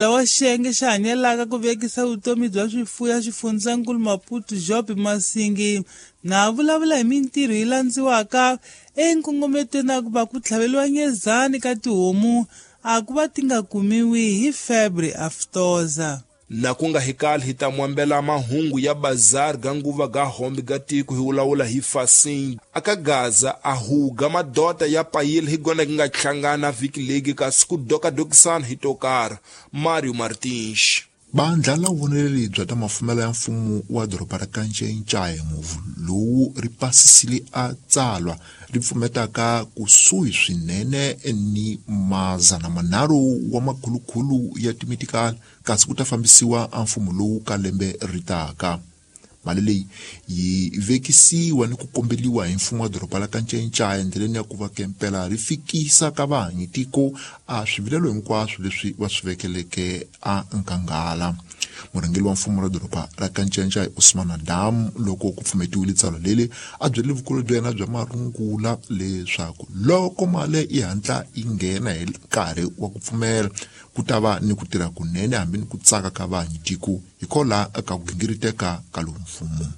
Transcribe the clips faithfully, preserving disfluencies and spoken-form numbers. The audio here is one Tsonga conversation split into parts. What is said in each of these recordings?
Wa xiyenge xa hanyelaka ku vekisa vutomi bya swifuwo xifundzankulu Maputo Job Masingi na vulavula hi mintirho yi landziwaka enkongometweni na ku va ku tlhaveliwa nyezani ka tihomu a ku va ti nga kumiwi hi febre aftosa. Na ku nga hikali hi ta mwambela mahungu ya bazar ga nguva ga hombe ga tiko hi wulawula hi fasing aka Gaza a huga madota ya payile hi gona nga hlangana vhiki legi kasi ku dokadokisana hi tokara. Mario Martins. Bandla la vuvoneleli bya ta mafumelo ya mfumo wa doroba ra Kanchenchaye muvu lowu ri pasisile a tsalwa ri pfumetaka kusuhi swinene ni mazana manharhu wa makhulukhulu ya timitikali kasi ku ta fambisiwa a mfumo lowu ka lembe ri taka. Mali leyi yi vekisiwa ni ku kombeliwa hi mfumo wa doroba la Kanchenchaye endleleni ya ku va kempela ri fikisa ka vahanyi tiko a swivilelo hinkwaswo leswi va swi vekeleke a nkangala. Murhangeri wa mfumo ra doroba ra Kanchenchaye Usman Adam loko ku pfumetiwile tsalwa leri a byele vukulu bya yena bya marungula leswaku loko mali yi hatla yi nghena hi nkarhi wa ku pfumela ku ta va ni ku tirha kunene hambi ni ku tsaka ka vahanyi tiko hikola ka ku gingiriteka ka lowu mfumo.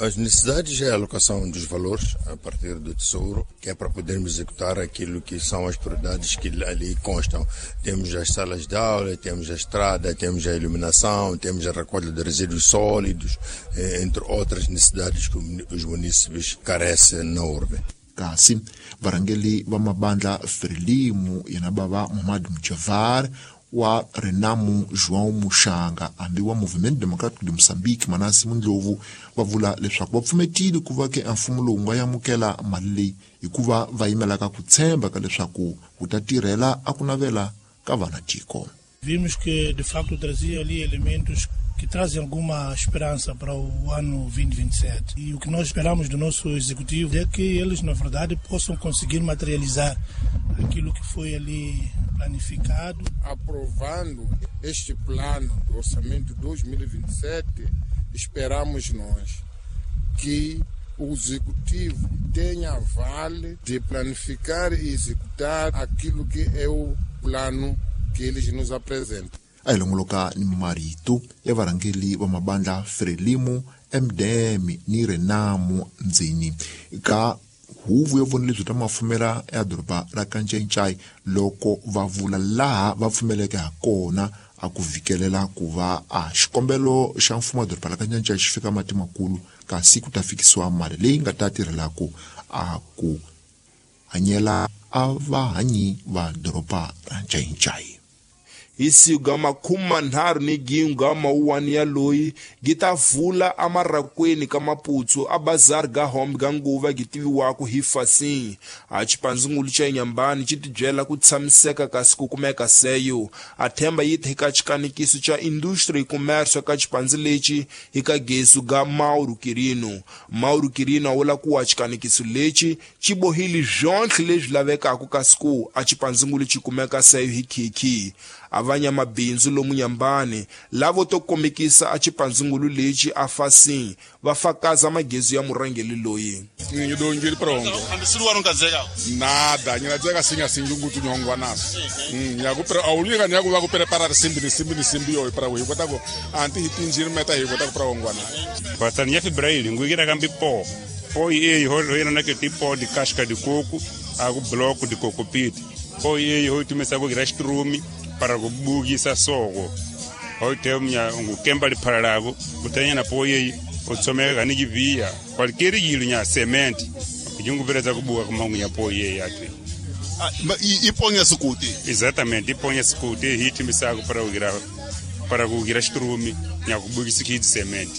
As necessidades é a alocação dos valores a partir do Tesouro, que é para podermos executar aquilo que são as prioridades que ali constam. Temos as salas de aula, temos a estrada, temos a iluminação, temos a recolha de resíduos sólidos, entre outras necessidades que os munícipes carecem na urbe. Kasi varhangeri va mabandla Frelimu yena bava Muhammad Mjavar wa Renamu João Muxanga hambi wa Movimento Democrático de Moçambique Manasi Mundlovu va vula leswaku va pfumetile ku va ke mfumo lowu nga amukela mali leyi hikuva va yimelaka ku tshemba ka leswaku wu ta tirhela a ku navela ka vana tiko. Vimos que de facto trazia ali elementos que trazem alguma esperança para o ano vinte e vinte e sete. E o que nós esperamos do nosso executivo é que eles, na verdade, possam conseguir materializar aquilo que foi ali planificado. Aprovando este plano do orçamento dois mil e vinte e sete, esperamos nós que o executivo tenha vale de planificar e executar aquilo que é o plano que eles nos apresentam. A hi longoloka ni marito ya varhangeri va mabandla Frelimu, M D M ni Renamu ndzeni ka huvo yo vona lebyi ta mafumela ya doroba ra Kanchenchaye loko va vula laha va pfumeleke ha kona a ku vikelela ku va a xikombelo xa mfumo wa doroba ra Kanchenchaye xi fika mati makulu kasi ku ta fikisiwa mali leyi nga ta tirhelaku a ku hanyela a vahanyi va doroba ra Kanchenchaye. Hi siku ga makume manharhu ni gin'we ga mawuwani ya loyi gi ta vula amarakweni ka Maputsu a bazar ga hombe ga nguva gi tiviwaka hi fasing. A xipandzingulu xa Inyambani xi tibyela ku tshamiseka kasi ku kumeka seyo. A themba yi hi ka xikanikiso xa industry commerce ka xipandzi lexi hi ka gesu ga Mauro Quirino. Mauro Quirino a vula ku wa xikanikiso lexi xi bohile byonhle leswi lavekaka kasi ku a xipandzingulu xi kumeka seyo hi khikhi. A vanyamabindzu lomu Nyambani lavo to kombekisa a xipandzingulu lexi a fasing va fakaza magezu ya murhangeri loyi. Ngidongile prongo. Nada, nyinadzeka singa singungutu nyongwa naso. Nyaku awulika nyaku va ku prepara simbi ni simbi ni simbi yo para hi kota ku anti hi tinjini meta hi kota ku pra ngwana. Batani ya febraili ngugira kambi po. Po ye ho ho na ke tipo de casca de coco, a ku bloco de coco pit. Po ye ho tumesa ku grastrumi para kubukisa soko. Hote mnya ngukemba liphalalago kutanya na poye otsomeka ni kivia qualquer yilo nya cement kujungubereza kubuka kumangu ya poye yatwe. Ah, iponya sukuti. Exatamente, iponya sukuti hitimisako para kugira para kugira strumi nya kubukisa kid cement.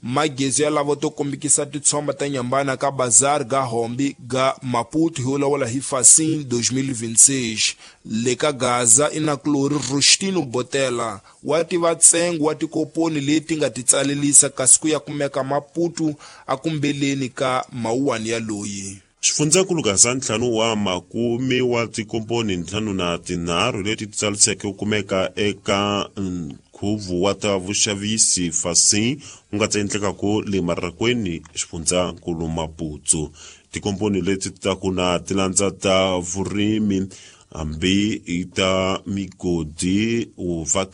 Magezu ya lavo to kombekisa titshomba ta Nyambana ka bazar ga hombe ga Maputo hi wulawula hi Facim dois mil e vinte e seis. Le ka Gaza i na kulori Rustino Botela wa tiva ntsengo wa tikoponi leti nga ti tsalelisa kasi ku ya kumeka Maputo a kumbeleni ka mawuwani ya loyi. Xifundzankulu Gaza ntlhanu wa makume wa tikomponi ntlhanu na tinharhu leti ti tsaliseke ku kumeka eka nkhuvo wa ta vuxavisi Facim wu nga ta endlekaku le Marakweni xifundzankulu Maputo. Tikomponi leti ta ku na tilandza ta vurimi Hambi i ta migodi u vhaka.